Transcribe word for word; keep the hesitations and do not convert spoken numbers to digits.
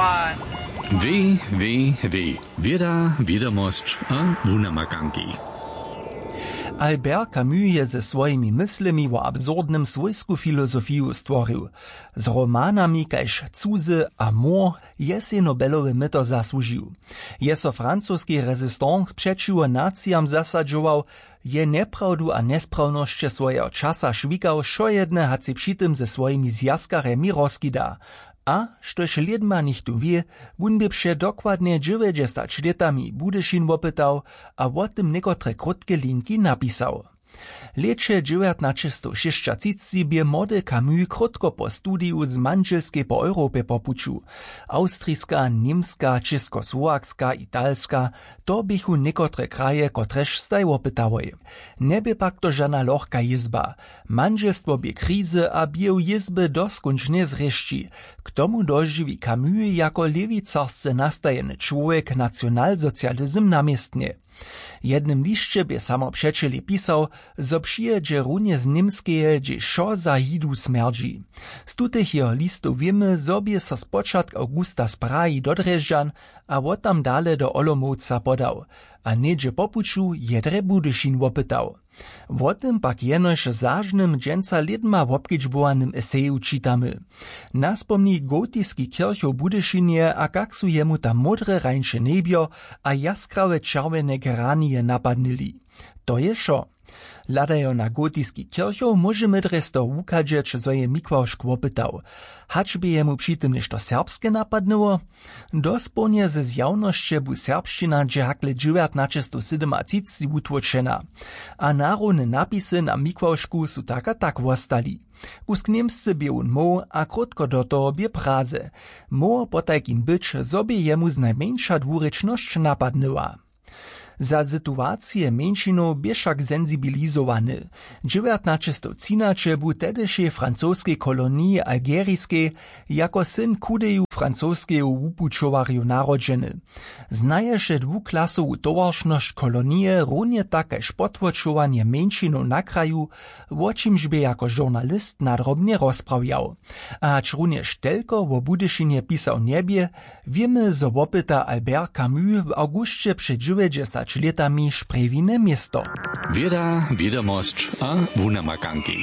W W W, wěda, wědomosć a wunamakanki. Albert Camus je ze swojimi myslemi wo absurdnym swójsku filozofiju stworił. Z romanami kaž Cuzy a Mor je sej Nobelowe myto zasłužił. Je so francoski resistance přećiwo nacijam zasadźował, je njeprawdu a njesprawnosće swojeho časa šwikał wšojedne, hač sej při tym ze swojimi zwjazkarjemi rozkida. A štož lědma nichtó wě, wón bě před dokładnje dźewjećdźesać lětami Budyšin wopytał a wo tym někotre krótke linki napisał. W lěće dźewjatnaćestowšěsćatřicci bě młody Camus krótko po studiju z mandźelskej po Europje po puću. Awstriska, němska, čěskosłowakska, italska, to běchu někotre kraje, kotrež staj wopytałoj. Njebě pak to žana lochka jězba. Mandźelstwo bě krizy a běhu jězby doskónčnje zrěšći. K tomu dožiwi Camus jako lěwicarsce nastajeny čłowjek nacionalsocializm na městnje. W jednym lisće bě samo přećelej pisał, zo přijědźe runje z Němskeje, hdźež wšo za Židu smjerdźi. Z tutych jeho listow wěmy, zo bě so spočatk awgusta z Prahi do Drježdźan a wot tam dale do Olomouca podał a něhdźe po puću jedrje Budyšin wopytał. Wo tym pak jenož w zažnym dźensa lědma wobkedźbowanym eseju čitamy. Naspomni gotiski kěrchow w Budyšinje a kak su jemu tam módre rańše njebjo a jaskrawe čerwjene geranije napadnyli. To je wšo. Hladajo na gotiski kěrchow, móžemy drje z toho wuchadźeć, zo je Mikławšk wopytał, hač bě jemu při tym něšto serbske napadnyło. Dospołnje ze zjawnosće bu serbšćina dźe hakle dźewjatnaćestowsydomatřicci wutłóčena. A narowne napisy na Mikławšku su tak a tak wostali. Kusk němsce bě wón móhł a krótko do toho bě praze. Móhło potajkim być, zo bě jemu znajmjeńša dwurěčnosć napadnyła. Za situacije mjeńšinow bě wšak sensibilizowany. Dźewjatnaćestowtřinaće bu w tedyšej francoskej koloniji algeriskej jako syn chudeju francoskeju wupućowarju narodźeny. Znaješe dwuklasowu towaršnosć kolonije, runje tak kaž potłočowanje mjeńšinow na kraju, wo čimž bě jako žurnalist nadrobnje rozprawjał. A hač runjež telko wo Budyšinje pisał njebě, wěmy, zo wopyta Albert Camus w awgusće před dźewjećdźesać lětami šprjewine město. Wěda, wědomosć a wunamakanki.